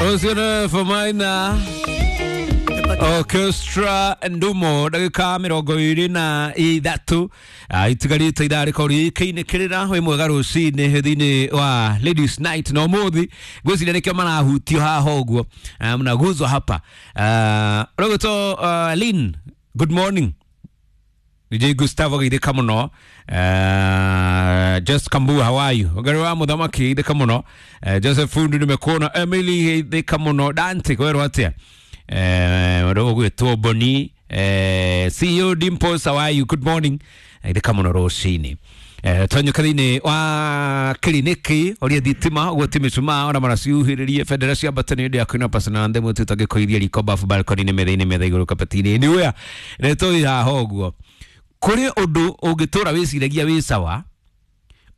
Ũcio Maina Orchestra Ndumo ndagĩka 23 itigarĩte ithaa rĩkorwo rĩkĩinĩkĩrĩra wĩ mwega rũcinĩ thĩinĩ wa Ladies Night na ũmũthĩ ngwĩciria nĩkĩo marahutio haha ũguo mnaguzwa hapa ũrĩgwĩtwo Lynn, good morning. DJ Gustavo geithĩka mũno. Just Kambu, how are you? Ũngari wa mũthamaki geithĩka mũno. Joseph Fundu nimekuona. Emily geithĩka mũno. Dante kwerwo atĩa? Ũgwĩtwo Boni. CEO Dimples, how are you? Good morning. Geithĩka mũno rũcinĩ. Twanyũka thĩinĩ wa kiriniki ũrĩa thitima ũguo ti mĩcumaa ona maraciuhĩrĩrie bendera cia mbata nĩ ũndũ ya kwĩna pasana ndemwe tũtangĩkũiria riko bafu balcony-inĩ metha-inĩ metha igũrũ kabati-inĩ anywhere nĩ tũĩ haha ũguo kũrĩ ũndũ ũngĩtũra wĩciragia wĩ sawa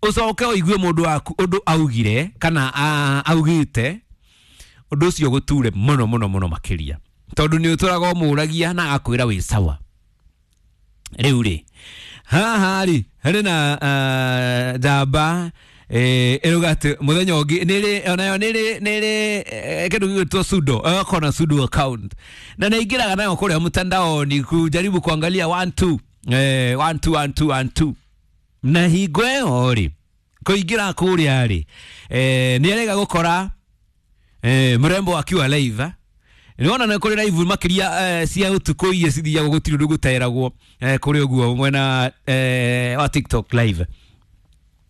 ũcoke ũigue mũndũ waku ũndũ augire kana augĩte ũndũ ũcio gũture mũno mũno mũno makĩria tondũ nĩ ũtũraga ũmũragia na agakwĩra wĩ sawa. Rĩu rĩ haha rĩ harĩ na njamba ĩrauga atĩ mũthenya ũngĩ nĩrĩ onayo nĩrĩ nĩrĩ kĩndũ gĩgwĩtwo sudo ĩgakorwo na sudo account na nĩingĩraga nayo kũrĩa mtandaoni kujaribu kuangalia 1 2 1 2 1 2 1 2 na hingo ĩyo rĩ kũingĩra kũrĩa rĩ nĩ arega gũkora mrembo akiwa live. Nĩwona nĩ kũrĩ live makĩria cia ũtukũ iria cithiagwo gũtirĩ ũndũ gũteragwo kũrĩ ũguo mwena wa TikTok live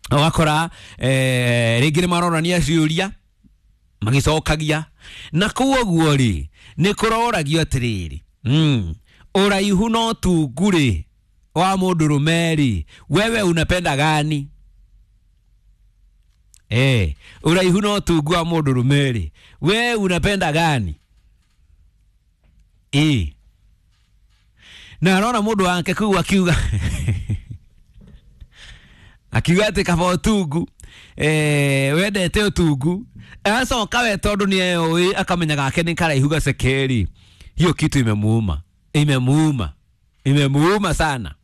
ũgakora rĩngĩ nĩ maronania ciũria magĩcokagia na kũu ũguo rĩ nĩ kũroragio atĩrĩrĩ ũraihu no tungu rĩ wa mũndũrũme rĩ wewe unapenda gani? Ũraihu no tungu wa mũndũrũme rĩ we unapenda gani? Na arona mũndũ wake kũu akiuga akiuga atĩ kaba ũtungu wendete ũtungu acoka we tondũ nĩ eũĩ akamenya gake nĩ karaihu gacekeri hiyo kitu imemuuma imemuuma imemuuma sana.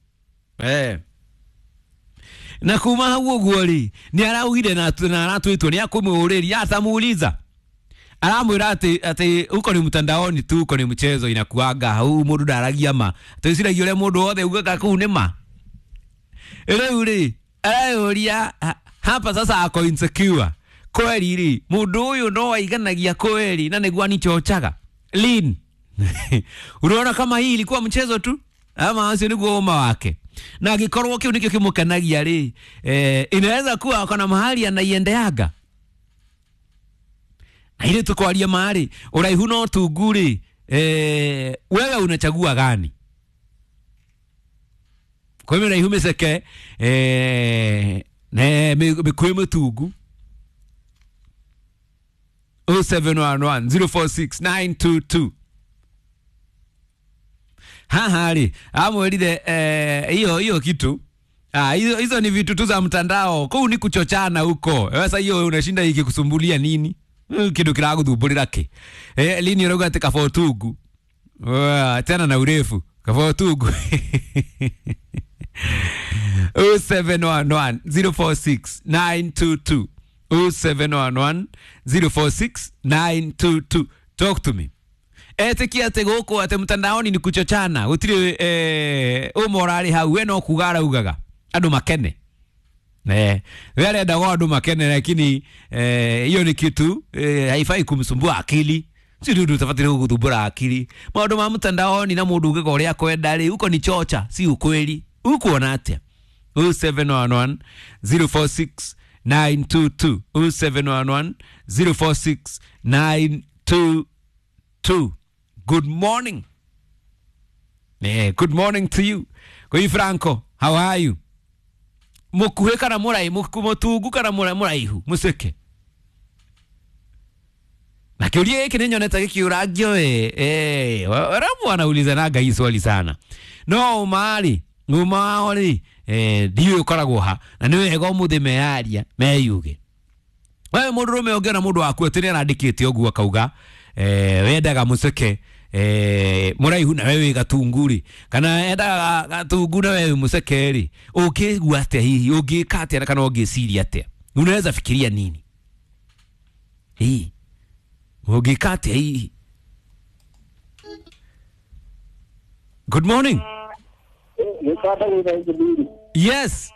Na kuma hau ũguo rĩ nĩ araugire na aratwĩtwo nĩ akũmũũrĩria atamuuliza aramwĩra atĩ atĩ huko ni mtandaoni tu huko ni mchezo inakuaga hau mũndũ ndaragia ma twĩciragia ũrĩa mũndũ wothe ugaga kũu nĩ ma. Rĩu rĩ areyũria hapa sasa ako insecure kweli rĩ mũndũ ũyũ no aiganagia kweli na nĩguo anichochaga Lynn. Unaona kama hii ilikuwa mchezo tu ama acio nĩguo ũma wake na angĩkorwo kĩu nĩkĩo kĩmũkenagia rĩ inaweza kuwa akona mahali anaiendeaga na ile tukwaria mahali ũraihu no tungu rĩ wewe unachagua gani? Kwa mĩraihu mĩceke ne mĩkuĩ mĩtungu 0711 046 922 haha rĩ amwĩrire hiyo hiyo kitu hizo ni vitu tu za mtandao kuu ni kuchochana huko. Sasa hiyo unashinda ikikusumbulia nini? Kindu kiraguthumbũrĩra kĩ? Lini ũrauga atĩ kaba ũtungu tena na urefu kaba ũtungu 0711 046 922 0711 046 922 talk to me. Etikia atĩ gũkũ atĩ mtandaoni ni kuchochana gũtirĩ ũmwe ũrarĩ hau we no kuga araugaga andũ makene. We arenda go andũ makene lakini hiyo ni kitu haifai kumsumbua akili si ndu utabatire gũgũthumbũra akili maũndũ ma mtandaoni na mũndũ ugaga ũrĩa akwenda rĩ huko ni chocha si ukweli. Ukuona atĩa? 0711 046 922 0711 046 922 Good morning. Good morning to you. Koi Franco, how are you? Mukuhe kana murai mutungu kana muraihu muceke na kiuria giki ni nyonete gikiuragio ramu anaulizanaga hii swali sana no umari uma ri ndiũĩ ũkoragwo ha na nĩ wega ũmũthĩ meyaria meyuge wewe mũndũrũme ũngĩona mũndũ waku atĩ nĩ arandĩkĩte ũguo akauga wendaga mũceke mũraihu na wewe gatungu rĩ kana endaga gatungu na wewe mũceke rĩ ũngĩigua atĩa hihi ũngĩka atĩa kana ũngĩciria atĩa unaweza fikiria nini? Hii Ũngĩka atĩa hihi? Good morning. Gĩkanda gĩtha engineer. Yes.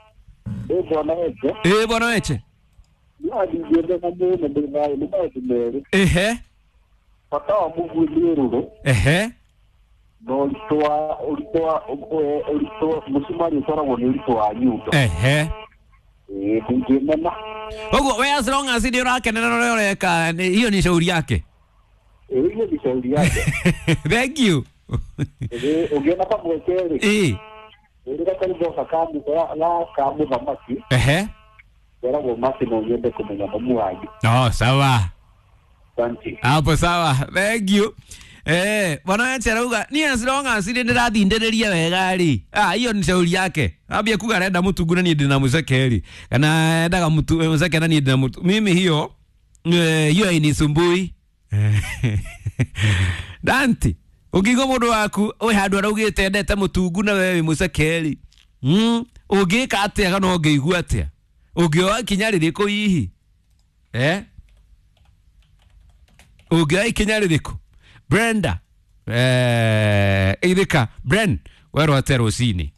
Ĩ bwana Weche. Ĩ bwana Weche. No ndingĩendeka mũno ndĩ thayũ nĩ maũndũ merĩ. Ehe. Bata wa mũguĩ nĩ rũrũ. Ehe. Na ũritũ wa ũritũ wa ũritũ mũcumarĩ ũtwaragwo nĩ ũritũ wa nyundo. Ehe. Ĩ ndingĩmena. Ũguo we as long as nĩ ũrakenera ũrĩa ũreka hiyo ni shauri yake. Ĩ hiyo ni shauri yake. Thank you. Ĩ ũngĩona kamweke rĩ. Ĩ. Ĩrĩ gakarĩmbo ga mũthamaki. Ehe. Geragwo mati no nyende kũmenya mamu wanyu. Oh, sawa. Asante. Hapo sawa. Thank you. Bwana Weche arauga ni as long as nĩ ndĩrathindĩrĩria wega rĩ. Ah, hiyo ni shauri yake. Ambia kuga arenda mũtungu na niĩ ndĩna mũceke rĩ. Kana endaga mũceke na niĩ ndĩna mũtu. Mimi hiyo hiyo hainisumbui. Dante, ũngĩigua mũndũ waku wĩ handũ araugĩte endete mũtungu na we wĩ mũceke rĩ. Ũngĩka atĩa kana ũngĩigua atĩa? Ũngĩoya ikinya rĩrĩkũ hihi? Eh? Ũngĩoya ikinya rĩrĩkũ? Brenda, ithika Bren, werwo atĩa rũcinĩ?